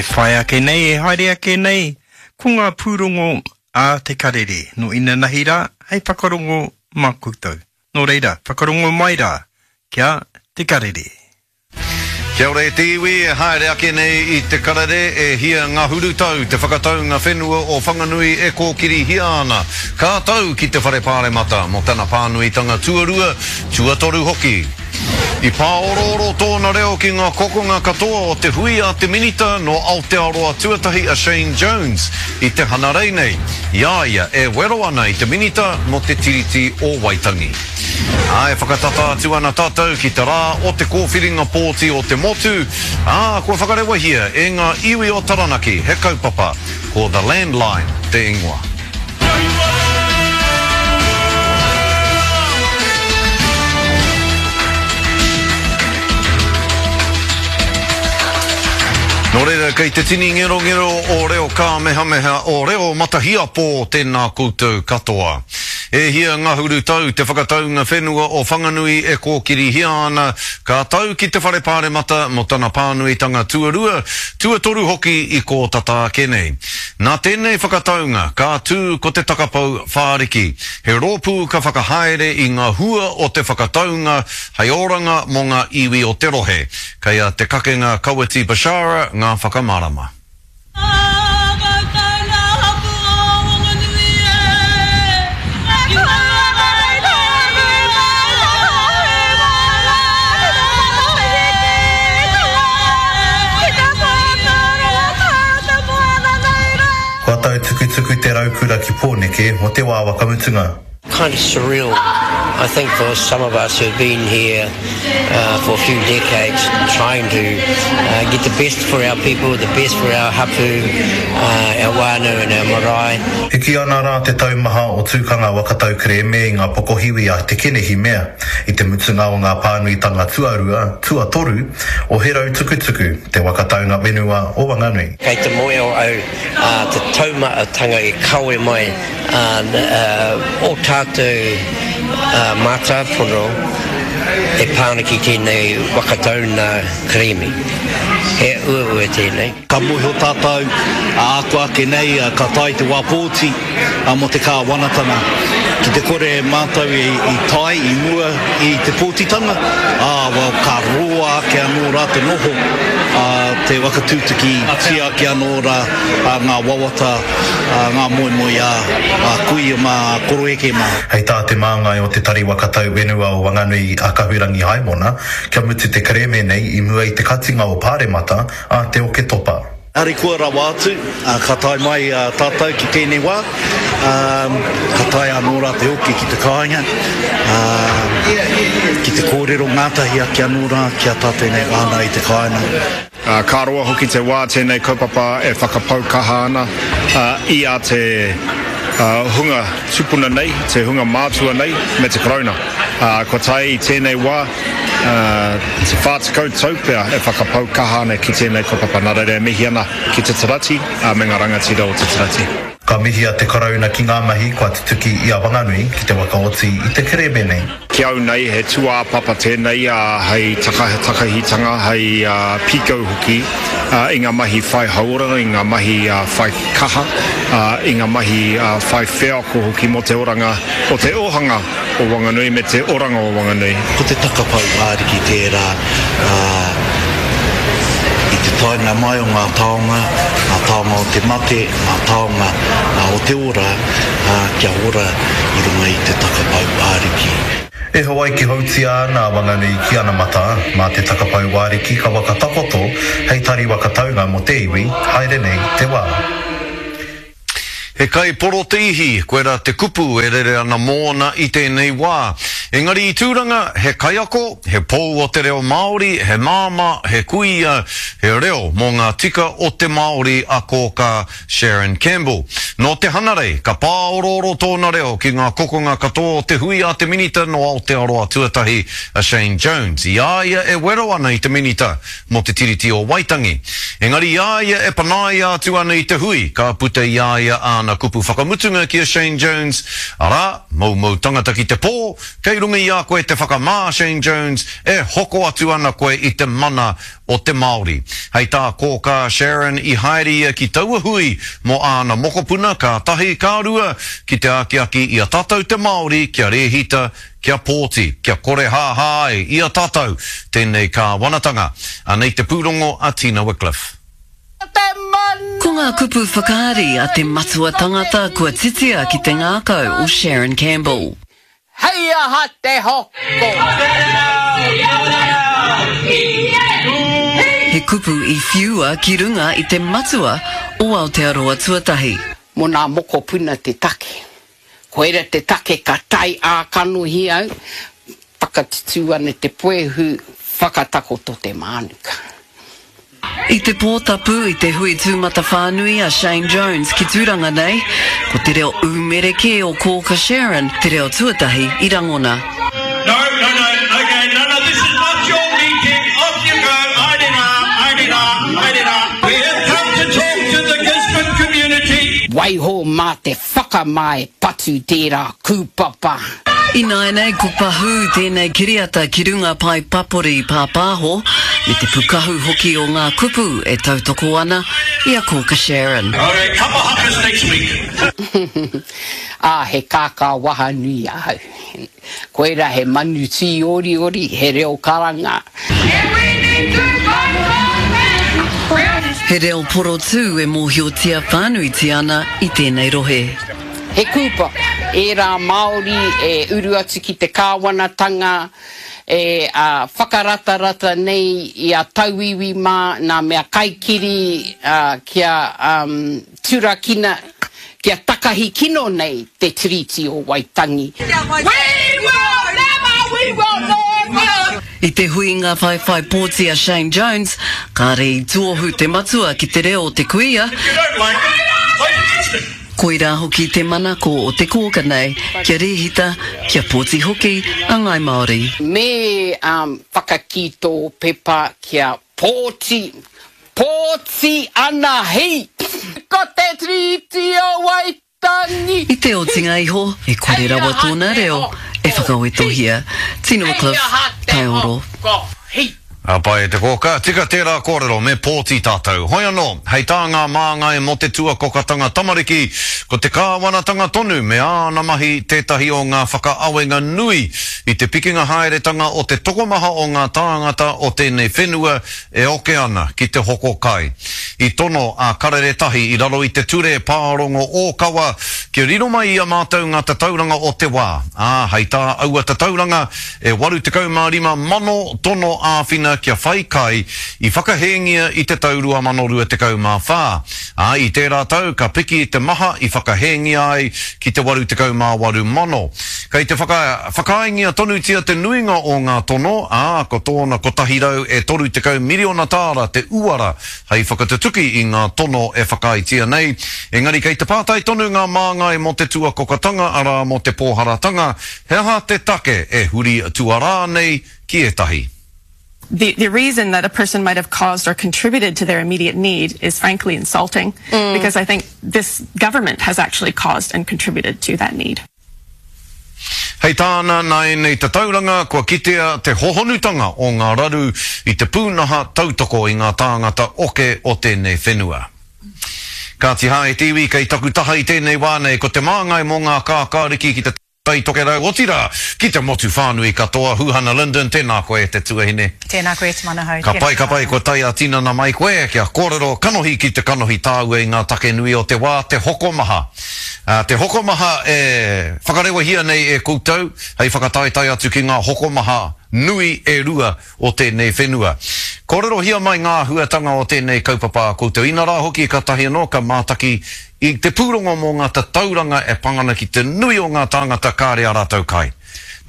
E whai ake nei, e haere ake nei, ko ngā pūrongo a Te Karere nō inanahi rā hei whakarongo mā koutou. Nō reira, whakarongo mai rā ki a Te Karere. Kia ora e te iwi, e haere ake nei i Te Karere, e hia ngahuru tau te whakataunga whenua o Whanganui e kōkirihia ana. Ka tau ki te Whare Pāremata mō tana pānuitanga tuarua, tuatoru hoki. I pāorooro tōna reo ki ngā kokonga katoa o te hui a te Minita nō Aotearoa Tuatahi a Shane Jones i te Hanarei nei, i a ia e wero ana i te Minita mō te Tiriti o Waitangi. Ā, e whakatata atu ana tātou ki te rā o te kōwhiringa pōti o te motu, ā, kua whakarewahia e ngā iwi o Taranaki he kaupapa, ko The Landline te ingoa. Nō reira, kei te tini ngerongero o reo kāmehameha, o reo matahiapō tēnā koutou katoa. E hia ngahuru tau te whakataunga whenua o Whanganui e kōkirihia ana, ka tau ki te Whare Pāremata mō tana pānuitanga tuarua, tuatoru hoki i kō tata ake nei. Nā tēnei whakataunga ka tū ko te takapou whāriki, he rōpū ka whakahaere i ngā hua o te whakataunga hei oranga mō ngā iwi o te rohe. Kei a Te Kakenga Kawiti Bashara ngā whakamārama. Kua tautukutuku te raukura ki Pōneke mō te wā whakamutunga. Kind of surreal I think for some of us who've been here for a few decades trying to get the best for our people, the best for our hapu, our whānau and our marae. Hiki ana rā te taumaha o Tūkanga waka tau kerēme i ngā pokohiwi a Te Kenehi Mea i te mutunga o ngā pānuitanga tuarua, tuatoru o He Rau Tukutuku, te waka taunga whenua o Wanganui. Kei te moe o au te taumahatanga e kawe mai ō tātou mātāpono e pā ana ki tēnei waka tauna kerēme. He uaua tēnei. Ka mōhio tātou, ākua ake nei ka tae te wā pōti mō te kāwanatanga. Ki te kore mātou i tae i mua i te pōtitanga, ā, well, ka roa ake anō rā te noho, ā, te whakatūtukitia ake anō rā ngā wawata, ngā moemoeā a kuia mā, a koroeke mā. Hei tā te māngai o Te Tari Waka Tau Whenua o Wanganui a Kahurangi Haimona, kia mutu te kerēme nei i mua i te katinga o Pāremata, a Te Oketopa. Harikoa rawa atu, ka tae mai tātou ki tēnei wā, ka taea anō rā te hoki ki te kāinga, ki te kōrero ngātahi ake anō rā ki a tātou nei whānau i te kāinga. Ka roa hoki te wā tēnei kaupapa e whakapau kaha ana i a te hunga tupuna nei, te hunga mātua nei me te Karauna. Kua tae i tēnei wā, te 40 tau pea e whakapau kaha ana ki tēnei kaupapa, nā reira e mihi ana ki te Tarati me ngā rangatira o te Tarati. Ka mihia te Karauna ki ngā mahi kua tutuki i a Wanganui ki te whakaoti i te kerēme nei. Ki au nei, he tūāpapa tēnei hei takahitanga, hei pīkau hoki i ngā mahi whai hauora, i ngā mahi whai kaha, i ngā mahi whai wheako hoki mō te oranga o te ōhanga. O Wanganui me te oranga o Wanganui. Ko te takapau ariki tērā, ā, i te taenga mai o ngā taonga, ngā taonga o te mate, ngā taonga o te ora, ā, kia ora i runga i te takapau ariki. E Hawaiki houtia ana a Wanganui ki anamata, mā te takapau ariki ka whakatakoto hei tari waka taunga mō te iwi, haere nei te wā. He kai poroteihi, koirā te kupu e rere ana mōna i tēnei wā. Engari i Tūranga, he kaiako, he pou o te reo Māori, he māmā, he kuia, he reo mō ngā tika o te Māori a Kōkā Sharon Campbell. Nō te Hanarei, ka pāorooro tōna reo ki ngā kokonga katoa o te hui a te Minita nō Aotearoa Tuatahi a Shane Jones, i a ia e wero ana i te Minita mō te Tiriti o Waitangi. Engari i a ia e panaia atu ana i te hui, ka puta i a ia āna kupu whakamutunga ki a Shane Jones, arā, moumou tangata ki te pō, kei. runga i a koe te whakamā, Shane Jones, e hoko atu ana koe i te mana o te Māori. Hei tā Kōkā Sharon i haere ia ki taua hui mō āna mokopuna ka tahi, ka rua, ki te akiaki i a tātou te Māori kia rēhita, kia pōti, kia korehāhā ai i a tātou tēnei kāwanatanga. Anei te pūrongo a Tina Wickliffe. Ko ngā kupu whakaari a te matua tangata kua titia ki te ngākau o Sharon Campbell. Hei aha te hoko? He kupu i whiua ki runga i te matua o Aotearoa tuatahi. Mo nā mokopuna te take. Koira te take ka tae ā-kanohi au, whakatutū ana te puehu, whakatakoto te mānuka. I te pō tapu i te hui tūmatawhānui a Shane Jones ki Tūranga nei, ko te reo ūmere kē o Kōka Sharon te reo tuatahi i rangona. No, no, no, okay, no, no, this is not your meeting, off you go, haere rā, haere rā, haere rā. We have come to talk to the Gisborne community. Waiho mā te whakamā e patu tērā kūpapa. Ināianei ko Pahū tēnei kiriata ki runga pae papori pāpāho, me te pukahu hoki o ngā kupu e tautoko ana i a Kōka Sharon. Okay, kapa hakas next week. Ā, he kākā waha nui ahau. Koirā he manu tīoriori, he reo karanga. He reo porotū e mōhiotia whānuitia ana i tēnei rohe. He kūpapa ērā Māori e uru atu ki te kāwanatanga e whakaratarata nei i a tauiwi mā nā mea kaikiri kia turakina, kia takahi kino nei te Tiriti o Waitangi. We will never, we will never. I te huinga whaiwhai pōti a Shane Jones, kāre i tuohu te matua ki te reo o te kuia, Koirā hoki te manako o te kōka nei, kia rēhita, kia pōti hoki a Ngāi Māori. Me whakakī tō pepa kia pōti, pōti ana hi! Ko te Tiriti o Waitangi! I te otinga iho, e kore rawa tōna reo e whakawetohia. Tino Cliff, Taioro. Ka pai e te kōka, tika tērā kōrero, me pōti tātou. Hoi anō, hei tā ngā māngai mō te tuakokatanga tamariki, ko te kāwanatanga tonu me āna mahi tētahi o ngā whakaawenga nui i te pikinga haeretanga o te tokomaha o ngā tāngata o tēnei whenua e oke ana ki te hoko kai. I tono a Karere Tahi i raro i te ture pārongo ōkawa kia riro mai i a mātou ngā tatauranga o te wā, ā, hei tā aua tatauranga, E 85 mano tono āwhina kia whai kai i whakahēngia i te tau 2024, ā, i tērā tau ka piki te maha i whakahēngia ai ki te 88 mano. Kei te whakaaengia tonutia te nuinga o ngā tono, ā, ko tōna 130 miriona tāra te uara hei whakatutuki i ngā tono e whakaaetia nei, engari kei te pātai tonu ngā māngai mō te tuakokatanga, arā, mō te pōharatanga, He aha te take e huri tuarā nei ki ētahi? The the reason that a person might have caused or contributed to their immediate need is frankly insulting because I think this government has actually caused and contributed to that need. Hei tāna, nā ēnei tatauranga kua kitea te hohonutanga o ngā raru i te pūnaha tautoko i ngā tāngata oke o tēnei whenua. Kāti hā e te iwi, kei taku taha i tēnei wā nei ko te māngai mō ngā kākāriki ki te Tai Tokerau, otirā, ki te motu whānui katoa. Huhana Lyndon, tēnā koe e te tuahine. Tēnā koe e te Manahau, Ka pai, ka pai, kua tae ā-tinana mai koe kia kōrero kanohi ki te kanohi tāua i ngā take nui o te wā, te hokomaha. Te hokomaha e whakarewahia nei e koutou hei whakataetae atu ki ngā hokomaha nui e rua o tēnei whenua. Kōrerohia mai ngā āhuatanga o tēnei kaupapa a koutou, inarā hoki kātahi anō ka mātaki i te pūrongo mō ngā tatauranga e pā ana ki te nui o ngā tāngata kāre ā rātou kai.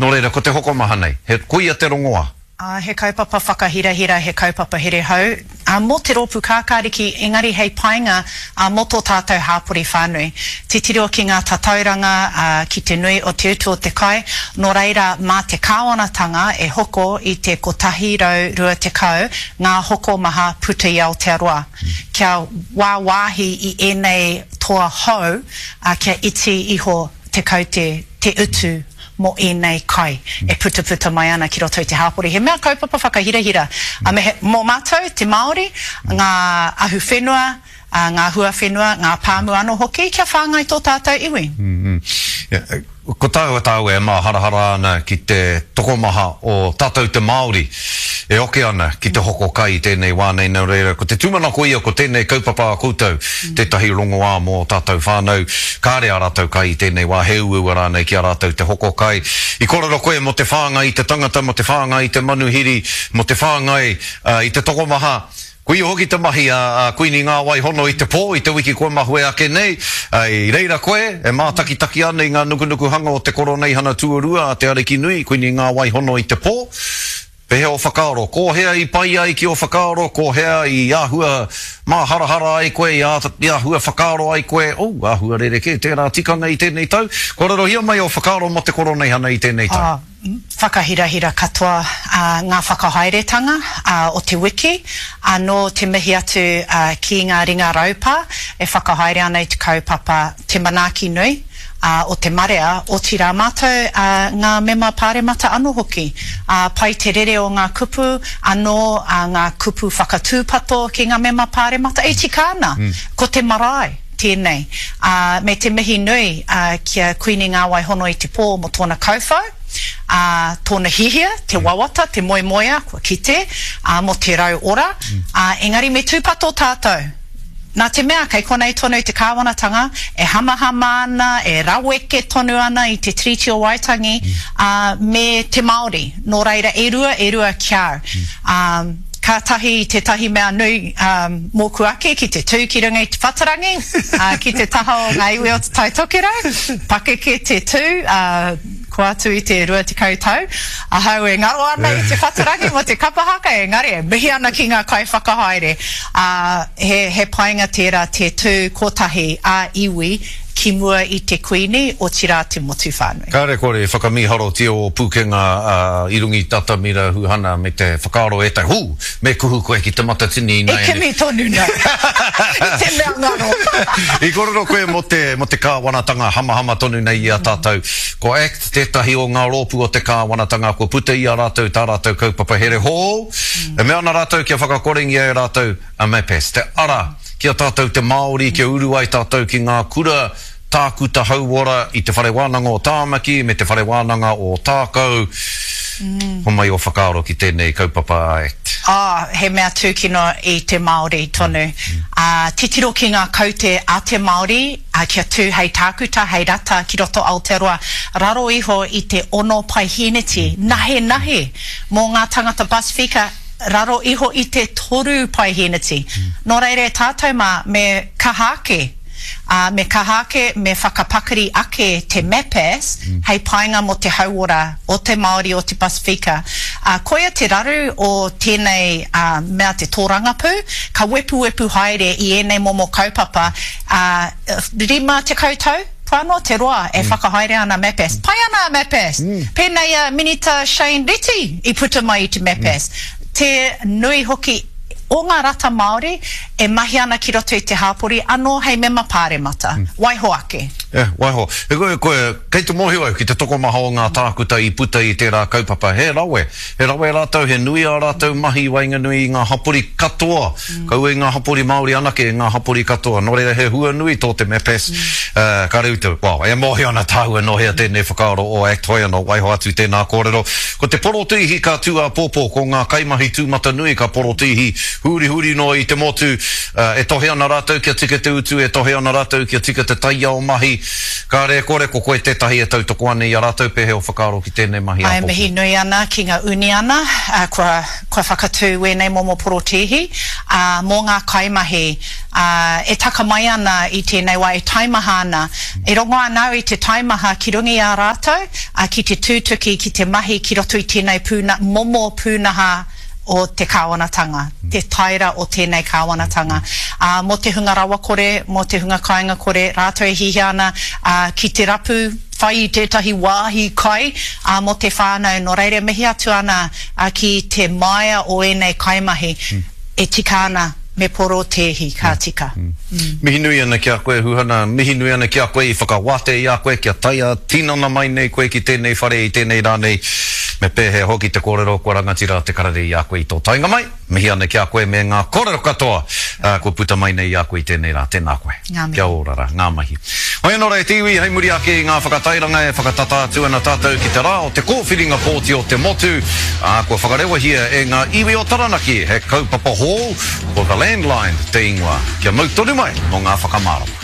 Nō reira, ko te hokomaha nei, he koia te rongoā. Ā, he kaupapa whakahirahira, he kaupapa here hou, ā, mō te rōpū kākāriki, engari hei painga, ā, mō tō tātou hāpori whānui. Titiro ki ngā tatauranga, ā, ki te nui o te utu o te kai, nō reira, mā te kāwanatanga e hoko i te 120 ngā hokomaha puta i Aotearoa, kia wāwāhi i ēnei toa hou, ā, kia iti iho te kaute, te utu. mō ēnei kai e putaputa mai ana ki roto i te hāpori. He mea kaupapa whakahirahira, me he, mō mātou, te Māori, ngā ahuwhenua, ngā huawhenua, ngā pāmu anō hoki, kia whāngai tō tātou iwi. Ko tāua tāua e māharahara ana ki te tokomaha o tātou te Māori e oke ana ki te hoko kai i tēnei wā nei, nō reira ko te tūmanako ia ko tēnei kaupapa a koutou tētahi rongoā mō ō tātou whānau kāre ā rātou kai i tēnei wā, he uaua rānei ki a rātou te hoko kai. I kōrero koe mō te whāngai i te tangata, mō te whāngai i te manuhiri, mō te whāngai i te tokomaha, Koia hoki te mahi a Kuini Ngāwai Hono i te pō, i te wiki kua mahue ake nei. I reira koe e mātakitaki ana i ngā nukunukuhanga o te Koroneihana Tuarua a Te Arikinui, Kuini Ngāwai Hono i te pō. Pehea ō whakaaro? Ko hea i pai ai ki ō whakaaro? Ko hea i āhua māharahara ai koe, i āhua whakaaro ai koe, oh, āhua rerekē tērā tikanga i tēnei tau? Kōrerohia mai ō whakaaro mō te Koroneihana i tēnei tau. Whakahirahira katoa ngā whakahaeretanga o te wiki, anō te mihi atu ki ngā ringa raupā e whakahaere ana i te kaupapa Te Manaaki Nui o te Marea, otirā mātou ngā mema pāremata anō hoki. Pai te rere o ngā kupu, anō ngā kupu whakatūpato ki ngā mema pāremata e tika ana, ko te marae tēnei, me te mihi nui ki a Kuini Ngāwai Hono i te Pō mō tōna kauwhau, ā, tōna hiahia, te wawata, te moemoeā, kua kite, ā, mō te rau ora, ā, engari me tūpato tātou, nā te mea kei konei tonu te kāwanatanga e hamahama ana, e raweke tonu ana i te Tiriti o Waitangi, ā, me te Māori, nō reira e rua, e rua ki a au. Ā. Kātahi tētahi mea nui mōku ake ki te tū ki runga i te whatarangi, ki te taha o ngā iwi o Te Tai Tokerau, pakeke te tū, kua atu i te 20 tau, ahau e ngaro ana i te whatarangi mō te kapa haka, engari e mihi ana ki ngā kaiwhakahaere, he painga tērā te tū kotahi ā-iwi ki mua i te Kuini, otirā te motu whānui. Kāre kore e whakamīharotia ō pūkenga i runga i Tatamira Huhana me te whakaaro e tai, hū! Me kuhu koe ki Te Matatini ināianei. E kimi tonu nei i te mea ngaro. I kōrero koe mō te, mō te kāwanatanga hamahama tonu nei i a tātou. Ko act tētahi o ngā rōpū o te kāwanatanga kua puta i a rātou tā rātou kaupapa here hou. E mea ana rātou kia whakakorengia e rātou a MAPAS, te ara ki a tātou te Māori kia uru ai tātou ki ngā kura tākuta hauora i Te Whare Wānanga o Tāmaki me Te Whare Wānanga o Ōtākou. Homai ō whakaaro ki tēnei kaupapa a act. Oh, he mea tūkino i te Māori tonu. Ā, titiro ki ngā kaute a te Māori, ā, kia tū hei tākuta, hei rata ki roto Aotearoa, raro iho i te ono paihēneti, nahenahe mō ngā tangata Pasifika, raro iho i te 3%. Nō reira e tātou mā, me kaha ake, ā, me kaha ake, me whakapakari ake te MAPAS hei painga mō te hauora o te Māori o te Pasifika. Ā, koia te raru o tēnei, ā, mea te tōrangapū, ka wepuwepu haere i ēnei momo kaupapa, ā, 50 tau? Kua noa te roa e whakahaere ana MAPAS. Pai ana a MAPAS! Pēnei a Minita Shane Reti i puta mai i te MAPAS. Te nui hoki o ngā rata Māori e mahi ana ki roto i te hāpori anō hei mema pāremata. Waiho ake. Yeah, waiho. E koe, koe, kei te mōhio au ki te tokomaha o ngā tākuta i puta i tērā kaupapa. He rawe. He rawe rātou, he nui ā rātou mahi i waenganui i ngā hapori katoa. Kaua i ngā hapori Māori anake, i ngā hapori katoa. Nō reira, he hua nui tō te MAPAS. Ka reu te, well, e mōhio ana tāua nō hea tēnei whakaaro o act, hoi anō, waiho atu tēnā kōrero. Ko te porotēhi ka tū āpōpō, ko ngā kaimahi tūmatanui ka porotēhi hurihuri noa i te motu. E tohe ana rātou kia tika te utu, e tohe ana rātou kia tika te taiao mahi. Kāre e kore, ko koe tētahi e tautoko ana i a rātou, pēhea ō whakaaro ki tēnei mahi āpōpō? E mihi nui ana ki ngā uniana kua kua whakatū wēnei momo porotēhi, ā, mō ngā kaimahi, ā, e taka mai ana i tēnei wā, e taimaha ana. E rongo ana au i te taimaha ki runga i a rātou, ā, ki te tūtuki, ki te mahi ki roto i tēnei pūna, momo pūnaha o te kāwanatanga, te taera o tēnei kāwanatanga. Ā, mō te hunga rawakore, mō te hunga kāingakore, rātou e hiahia ana, ā, ki te rapu, whai i tētahi wāhi kai, ā, mō te whānau. Nō reira, mihi atu ana, ā, ki te māia o ēnei kaimahi e tika ana. Me porotēhi, ka tika. Mihi nui ana ki a koe Huhana, mihi nui ana ki a koe i whakawātea i a koe kia tae ā-tinana mai nei koe ki tēnei whare i tēnei rā nei. Me pēhea hoki te kōrero kua rangatira te karere i a koe i tō taenga mai. Mihi ana ki a koe me ngā kōrero katoa kua puta mai nei i a koe i tēnei rā. Tēnā koe. Ngā mihi. Kia ora rā. Ngā mihi. Hoi anō rā e te iwi, hei muri ake i ngā whakatairanga e whakatata atu ana tātou ki te rā o te kōwhiringa pōti o te motu, ā, kua whakarewahia e ngā iwi o Taranaki he kaupapa hou, ko The Landline te ingoa. Kia mau tonu mai mō ngā whakamārama.